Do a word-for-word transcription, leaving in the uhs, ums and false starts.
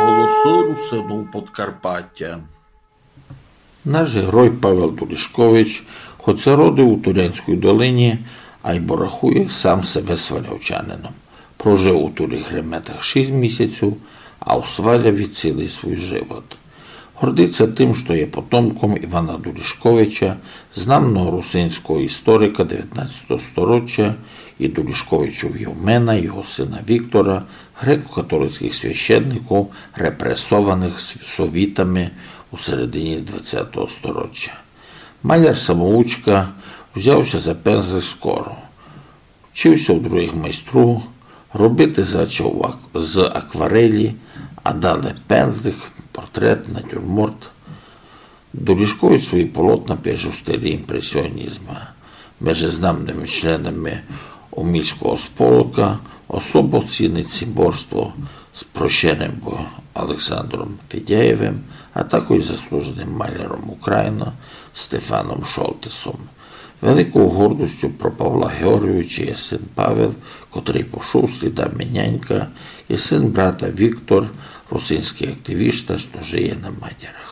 Голосы русинув Подкарпатя. Наш герой Павел Дурішкович, хоця родив у Турянській долині, айбо рахує сам себе свалявчанином. Прожив у Туріх Реметах шість місяців, а у Сваляві цілый свій живот. Гордить ся тым, што є потомком Івана Дурішковича, знамного русинського історика девятнадцятого сторіччя, і Дурішковичов Євмена, його сына Віктора, греко-католицькых священників, репресованых с-, совітами у середині двадцятого сторіччя. Маляр-самоучка взяв ся за пензлик скоро. Вчив ся у другых майстрів, робити зачав ак-, з акварелі, а далі пензлик, портрет, натюрморт. Дурішкович свої полотна пише у стилі імпресіонізма. Межи знамными членами Омільського сполока особо цінить цімборство з прощеним бо-, Олександром Федяєвим, а також заслуженим маляром України Стефаном Шолтесом. Великою гордостю про Павла Георгійовича є син Павел, котрый пошов слідами нянька, і син брата Віктор, русинськый активіст, што жиє на Мадярах.